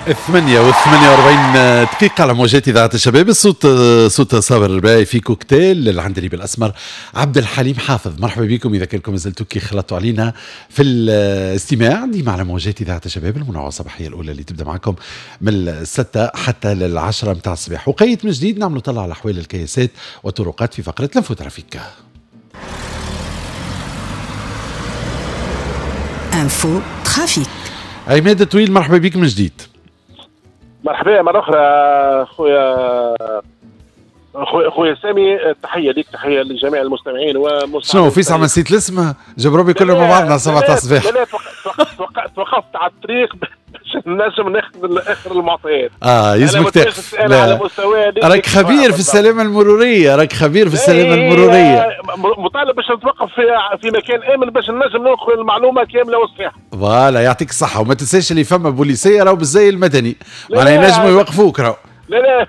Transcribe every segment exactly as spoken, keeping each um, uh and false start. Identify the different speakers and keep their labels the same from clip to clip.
Speaker 1: الثمانية والثمانية وأربعين دقيقة على موجات إذاعة الشباب. الصوت صوت صابر الرباعي في كوكتيل العندليب الأسمر عبد الحليم حافظ. مرحبا بكم إذا كنتم مازلتوا كي خلطتوا علينا في الاستماع ديما على موجات إذاعة الشباب، المنوعة الصباحية الأولى اللي تبدأ معكم من الستة حتى للعشرة متاع الصباح. وقيت من جديد نعملوا طلع على أحوال الكياسات والطرقات في فقرة l'info trafic.
Speaker 2: info trafic.
Speaker 1: عماد طويل مرحبا بك من جديد.
Speaker 3: مرحبا مرة أخرى خويا خويا خويا سامي، تحية ليك، تحية لجميع المستمعين ومستمعين.
Speaker 1: شنو في ساعة ما نسيت الاسم؟ جاب ربي كلنا مع بعضنا سبعة الصباح.
Speaker 3: لا لا توقفت على الطريق باش نجم ناخذ اخر المعطيات.
Speaker 1: اه يلزمك تقف. على مستوى راك خبير في السلامة المرورية، راك خبير في السلامة المرورية.
Speaker 3: مطالب باش نتوقف في في مكان آمن باش نجم ناخذ المعلومة كاملة وصحيحة.
Speaker 1: voilà يعطيك الصحة، وما تنساش اللي فما بوليسية راهو بالزي المدني، معناها ينجموا يوقفوك راهو.
Speaker 3: لا لا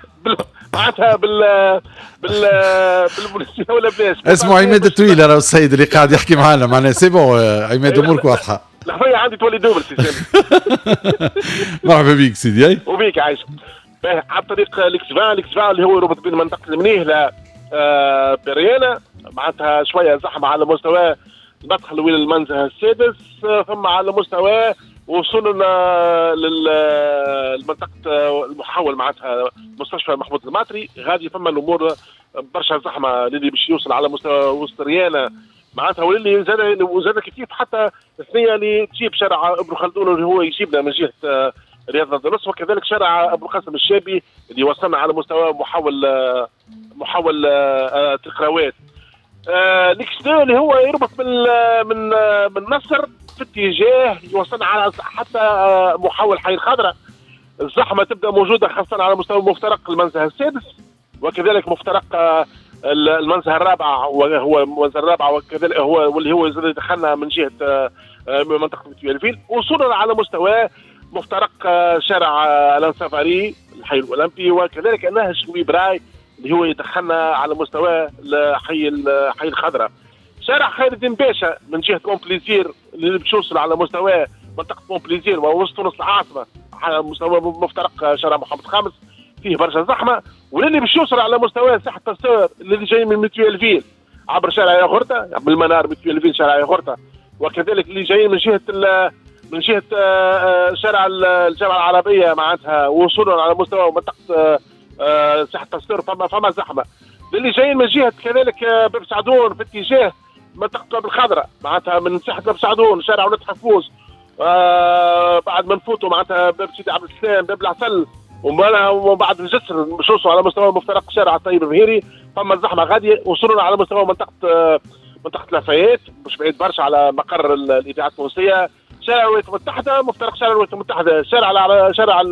Speaker 3: معناتها بال بال بالبوليسيه ولا بلاش.
Speaker 1: اسمه عماد الطويل راهو السيد اللي قاعد يحكي معنا، معناها c'est bon عماد امورك واضحة.
Speaker 3: الحرية عندي تولي double سي سامي.
Speaker 1: مرحبا بك سيدي.
Speaker 3: وبيك عايش. على طريق l'axe vingt، l'axe vingt اللي هو يربط بين منطقة المنيهله بريانه، معناتها شوية زحمة على مستوى المدخل وين المنزه السادس، ثم على مستوى وصلنا للمنطقة المحول معناتها مستشفى محمود الماطري، غادي فما الامور برشا زحمة للي باش يوصل على مستوى وسط ريانه معناتها، واللي زاد وزاد كيف حتى الثنية اللي تجيب شارع ابن خلدون اللي هو يجيبنا من جهة رياض النص، وكذلك شارع ابو القاسم الشابي اللي وصلنا على مستوى محول محول تقراوات. l'axe deux اللي هو يربط من من من مصر في اتجاه يوصلنا على حتى محول حي الخضراء. الزحمة تبدا موجودة خاصة على مستوى مفترق المنزه السادس، وكذلك مفترق المنزه الرابع، وهو المنزه الرابع وكذلك هو واللي هو دخلنا من جهة منطقة متوالفيل، وصولا على مستوى مفترق شارع الان سافاري الحي الاولمبي، وكذلك نهج ويبراي اللي هو يدخلنا على مستوى حي حي الخضراء. شارع خير الدين باشا من جهة مونبليزير اللي باش يوصل على مستوى منطقة مونبليزير ووسط تونس العاصمة على مستوى مفترق شارع محمد الخامس فيه برشا زحمة، واللي باش يوصل على مستوى ساحة باستور اللي جاي من متوالفيل عبر شارع ياغورتا من المنار متوالفيل شارع ياغورتا، وكذلك اللي جايين من جهة من جهة شارع الجامعة العربية معناتها وصولا على مستوى منطقة ساحة باستور فما فما زحمة. اللي جايين من جهة كذلك باب سعدون في اتجاه منطقة باب الخضراء معناتها من ساحة باب سعدون شارع ولاد حفوز، آه بعد ما نفوتوا معناتها باب سيدي عبد السلام باب العسل ومن بعد الجسر باش نوصلوا على مستوى مفترق شارع الطيب الظهيري فما الزحمة غادية. وصلنا على مستوى منطقة منطقة لافايات مش بعيد برشا على مقر الاذاعة التونسية، شارع الولايات المتحدة مفترق شارع الولايات المتحدة شارع شارع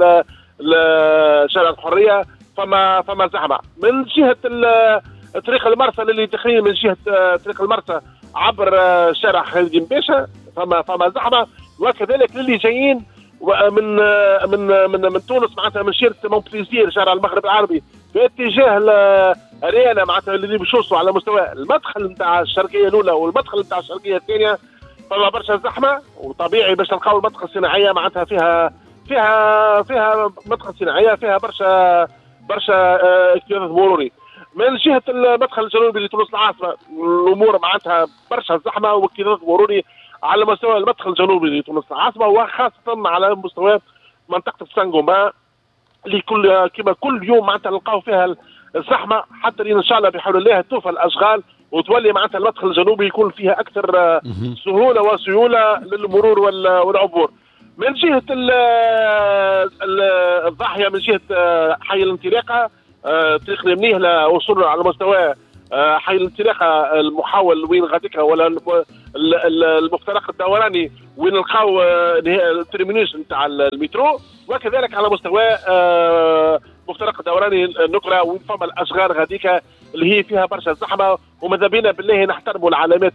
Speaker 3: شارع الحرية فما فما زحمة. من جهة طريق المرسى اللي داخلين من جهة طريق المرسى عبر شارع خالد بن باشا فما فما زحمة، وكذلك للي جايين من من من من تونس معناتها من شيرة مونبليزير شارع المغرب العربي باتجاه ريانا معناتها اللي باش يوصلوا على مستوى المدخل نتاع الشرقية الاولى والمدخل نتاع الشرقية الثانية فما برشا زحمة. وطبيعي باش نلقاو المنطقة الصناعية معناتها فيها فيها فيها منطقة صناعية فيها برشا برشا اكتظاظ مروري. من جهة المدخل الجنوبي لتونس العاصمة الامور معناتها برشا زحمة واكتظاظ مروري على مستوى المدخل الجنوبي لتونس العاصمة، وخاصة على مستوى منطقة سانغوما اللي كل كما كل يوم معناتها نلقاو فيها الزحمة، حتى ان شاء الله بحول الله توفى الاشغال وتولي معناتها المدخل الجنوبي يكون فيها اكثر سهولة وسيوله للمرور والعبور. من جهة الضاحية من جهة حي الانطلاقة طريق المنيهله وصولا على مستوى حي الانطلاقة المحاول وين غاديكا ولا المفترق الدوراني وين نلقاو ال terminus نتاع المترو، وكذلك على مستوى مفترق الدوراني النقره وين فما الاشغال غاديكا اللي هي فيها برشا زحمة. وماذا بينا بالله نحترموا العلامات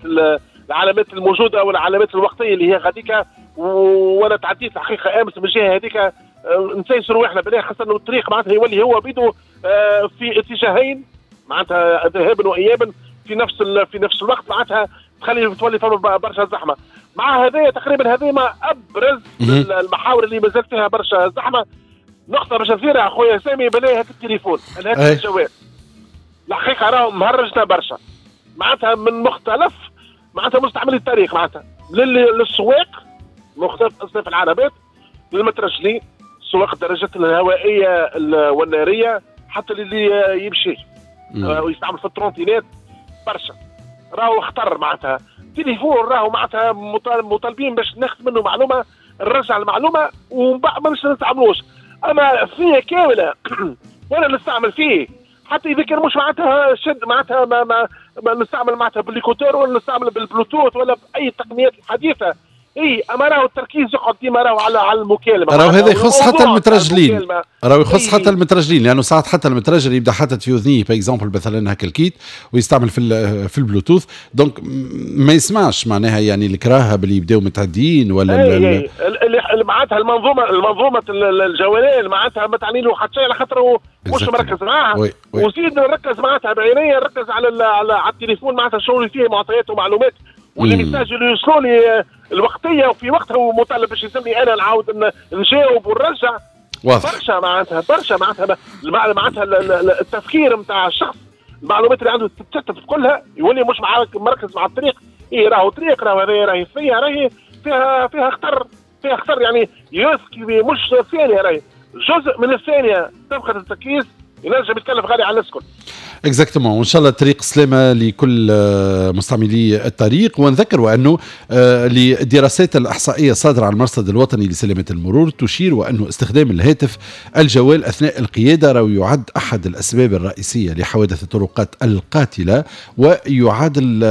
Speaker 3: العلامات الموجودة والعلامات الوقتية اللي هي غاديكا. وانا تعديت الحقيقة امس من الجهة هذيك نسيسروا رواحنا بالله، خاصة انه الطريق معناتها يولي هو بيدو في اتجاهين معناتها ذهابا وايابا في نفس في نفس الوقت، معناتها تخلي تولي فما برشا زحمة. مع هذايا تقريبا هذه ما ابرز المحاور اللي مازال فيها برشا زحمة. نقطة باش نثيرها خويا سامي، بلاي هات التليفون، الهاتف الجوال. الحقيقة راهو مهرجنا برشا معناتها من مختلف معناتها مستعملي الطريق، معناتها للسواق مختلف اصناف العربات، للمترجلين، سواق الدراجات الهوائية والناريه، حتى اللي يمشي ويستعمل في ال trottinette برشا راهو خطر. معناتها تليفون راهو معناتها مطالبين باش ناخذ منه معلومة، نرجع المعلومة ومن بعد ما نستعملوش. اما فيه كاملة وانا نستعمل فيه حتى اذا كان مش معناتها شد معناتها ما, ما, ما نستعمل معناتها بال écouteurs ولا نستعمل بالبلوتوث ولا باي التقنيات الحديثة. اي اما راهو التركيز يقعد ديما راهو على على المكالمة.
Speaker 1: راهو هذا يخص حتى المترجلين، راهو يخص حتى المترجلين، لانه ساعات حتى المترجل يبدا حاطط في اذنيه par exemple مثلا هكا ال kit ويستعمل في في البلوتوث، donc ما يسمعش معناها يعني الكراهب اللي يبداو متعديين ولا
Speaker 3: اللي معناتها المنظومة المنظومة الجواليه معناتها ما تعني له حتى شيء على خاطر مش مركز معاها. وزيد نركز معناتها بعيني، نركز على على على التليفون معناتها شنو اللي فيه معطيات ومعلومات وال messages اللي يوصلوا لي الوقتية وفي وقتها، ومطالب باش يلزمني انا نعاود نجاوب ونرجع.
Speaker 1: واضح
Speaker 3: برشا معناتها برشا معناتها معناتها التفكير نتاع الشخص، المعلومات اللي عنده تتشتت كلها، يولي مش مركز مع الطريق. ايه راهو طريق، راهو هذه راهي فيها راهي فيها فيها خطر، فيها خطر يعني يسكي مش ثانية، راهي جزء من الثانية تفقد التركيز ينجم يتكلف غالي على الناس الكل.
Speaker 1: exactement، وان شاء الله طريق سلامه لكل مستعملي الطريق. ونذكر انه للدراسات الاحصائية الصادرة عن المرصد الوطني لسلامة المرور تشير وانه استخدام الهاتف الجوال اثناء القيادة راهو يعد احد الاسباب الرئيسية لحوادث الطرقات القاتلة، ويعادل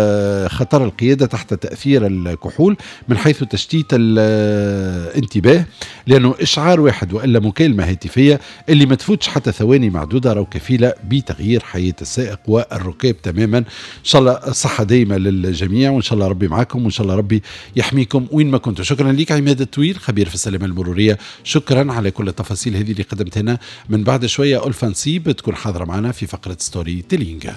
Speaker 1: خطر القيادة تحت تاثير الكحول من حيث تشتيت الانتباه، لانه اشعار واحد والا مكالمة هاتفيه اللي ما تفوتش حتى ثواني معدودة راهو كفيله بتغيير حياة السائق والركاب تماما. ان شاء الله صحة دايمه للجميع، وان شاء الله ربي معكم، وان شاء الله ربي يحميكم وين ما كنتوا. شكرا لك عماد الطويل خبير في السلامة المرورية، شكرا على كل التفاصيل هذه اللي قدمت لنا. من بعد شوية ألفا نصيب تكون حاضره معنا في فقره storytelling.